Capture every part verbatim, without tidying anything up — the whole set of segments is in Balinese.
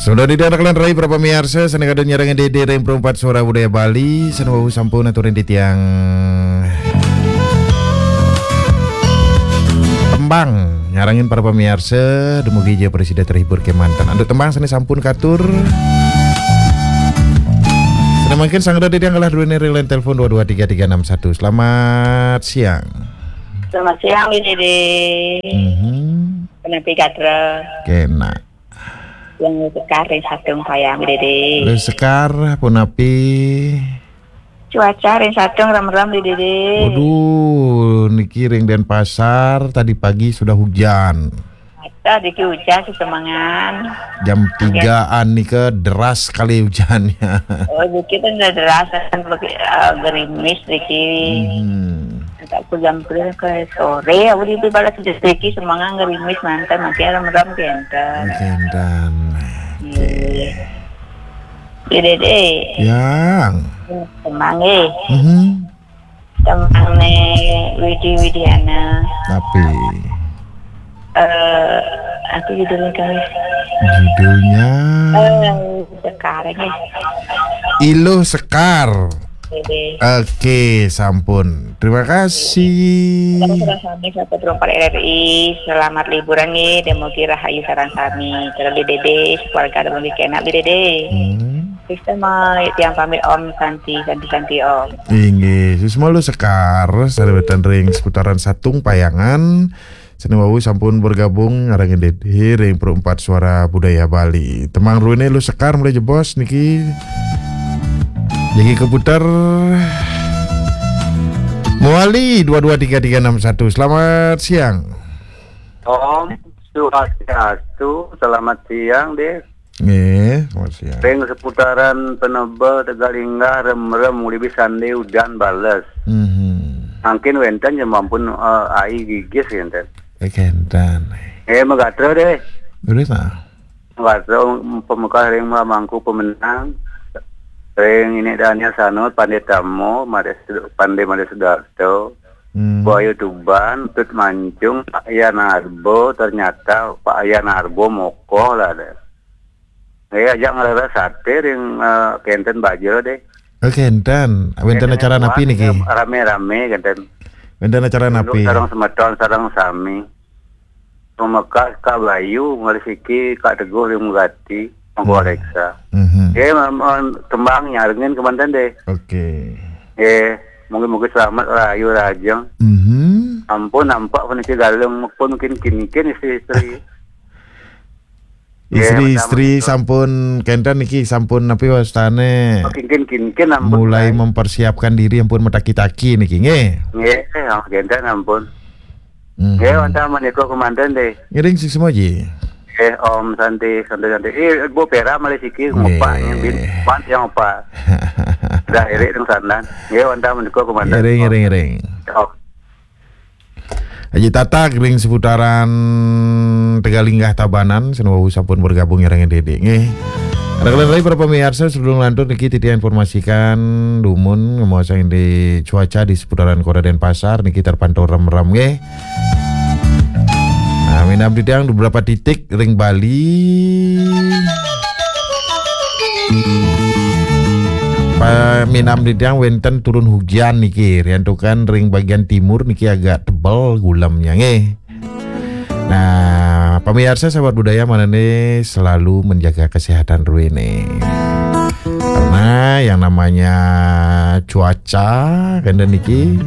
Sudah di dalam kalian rai para pamiarsa, sané kadén nyarengin Dédé ring Perempat Suara Budaya Bali, sané wau sampun aturin titiang tembang nyarengin para pamiarsa, dumugi ja prasida terhibur kémanten. Antuk tembang sané sampun katur. Sané mangkin sanggra titiang galah druéné ring line telepon dua dua tiga tiga enam satu. Selamat siang. Selamat siang, Dédé. Mhm. Punapi gatra? Kénak. Yang Sekar ring Satung payang, Dédé. Ring Sekar, punapi? Cuaca ring Satung remrem, Dédé. Waduh, niki ring Denpasar tadi pagi sudah hujan. Ada dikit hujan sesemangan. Jam tigaan nika deras sekali hujannya. Oh, dikit kan udah deras kan, begi-, eh, gerimis dikit. Hmm. Tak pulang pulang ke sore, aku di balas sedikit semangat gerimis mantan, masih remrem kénten. Kénten. Iya. Oké. Iya, Dédé. Yang. Tembang, eh. Mhm. Tembang né Widi Widiana. Tapi. Eh, apa judulnya, Kang? Judulnya. Eh, sekarang, eh. Iluh Sekar. Dédé. Oké, sampun. Terima kasih. Selamat sore, selamat sore, R R I. Selamat liburan nggih, dumugi rahayu sareng sami. Terus di Dédé, keluarga dumugi kénak di Dédé. Hmm. Sistema tiang pamit Om Santi, Santi, Santi Om. Inggih, Susma Iluh Sekar, sareng wénten ring seputaran Satung Payangan. Sané wau sampun bergabung nyarengin Dédé ring Perempat Suara Budaya Bali. Tembang druéné Iluh Sekar malih jebos niki. Jagi keputar mawali dua dua tiga tiga enam satu. Selamat siang. Om Swastiastu, selamat siang, Dédé. Nggih, selamat siang. Ring seputaran Penebel, Tegalinggah, remrem, uli bisandé udan bales. Mhm. Mangkin wénten ja mampun, eh, ai gigis wénten. Eh, kénten. Eh, magatra, Dédé. Terus, ah? Magatra, pamekah ring Mangku Pemenang. Ring Inik Daniel Sanur, Pandé Tamo, Madé Sud-, Pandé Madé Sudarto. Hmm. Buayu Tuban, Tut Mancung, Pak Yan Arbo, ternyata Pak Yan Arbo mokoh lah, Dédé. Eh, ajak ngleres saté ring, eh, kénten baja, Dédé. Oh, kénten. Wénten acara napi niki? Ramé-ramé kénten. Wénten acara napi? Sareng semeton, sareng sami. Pamekah Kak Bayu, malih siki Kak Teguh ring Megati, Mangku Alexa. Mhm. Nggih, mam-, mam-, tembang nyarengin kémanten, Dédé. Oké. Nggih, mugi-mugi selamat rahayu rahajeng. Mhm. Ampun, nampak puniki Galung, pun mungkin kinkin istri-istri. Istri-istri sampun kénten niki, sampun napi wastané? Oh, kinkin-kinkin ampun, mulai mempersiapkan diri ampun mataki-taki niki, nggih. Nggih, oh, kénten ampun. Mhm. Nggih, wantah menika kémanten, Dédé. Ngiring sik semoji. Eh, Om Santi, Santi, Santi. Eh, Bu Pera malih siki ngupak, nggih. Bin, pan yang ngupak. Dah irik teng sandan. Nggih, wantah menika kémanten. Ngiring, ngiring, ngiring. Oh. Haji Tatak ring seputaran Tegalinggah Tabanan, sané wau sampun bergabung nyarengin Dédé, nggih. Ada kalian lagi para pemirsa, sebelum lanjut niki titiang informasikan dumun ngemaosang di cuaca di seputaran Kota Denpasar niki terpantau remrem, nggih. Nah, minab titiang beberapa titik ring Bali. Paminab titiang wénten turun hujan niki, riantukan ring bagian timur niki agak tebel gulemnya, nggih. Nah, pemirsa sahabat budaya, mangdané selalu menjaga kesehatan druéné. Karena yang namanya cuaca, kénten niki,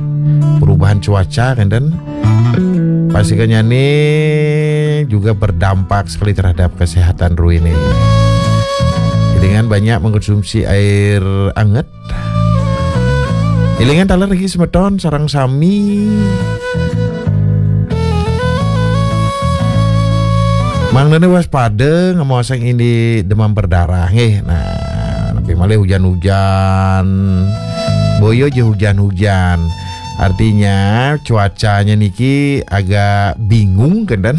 perubahan cuaca, kénten, pasti kenyane juga berdampak sekali terhadap kesehatan druéné. Dengan banyak mengkonsumsi air anget. Élingang taler niki semeton sareng sami. Mangdané waspada ngemaosang indik demam berdarah nggih. Nah, napi malih hujan-hujan. Boya ja hujan-hujan. Artinya cuacanya niki agak bingung kan, dan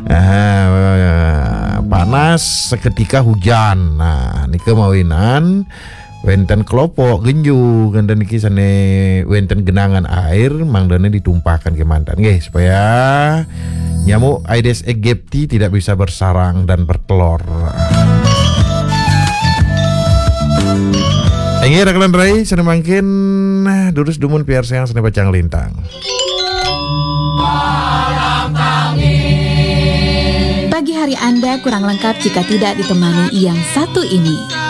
ah, panas seketika hujan. Nah, nika mawinan wénten kelopo genju, kénten niki sané wénten genangan air, mangdané ditumpahkan kémanten nggih, supaya Nyamuk Aedes aegypti tidak bisa bersarang dan bertelur. Inggih, raka lan rai, sané mangkin durus dumun piarsayang sané pacang lintang. Pagi hari Anda kurang lengkap jika tidak ditemani yang satu ini.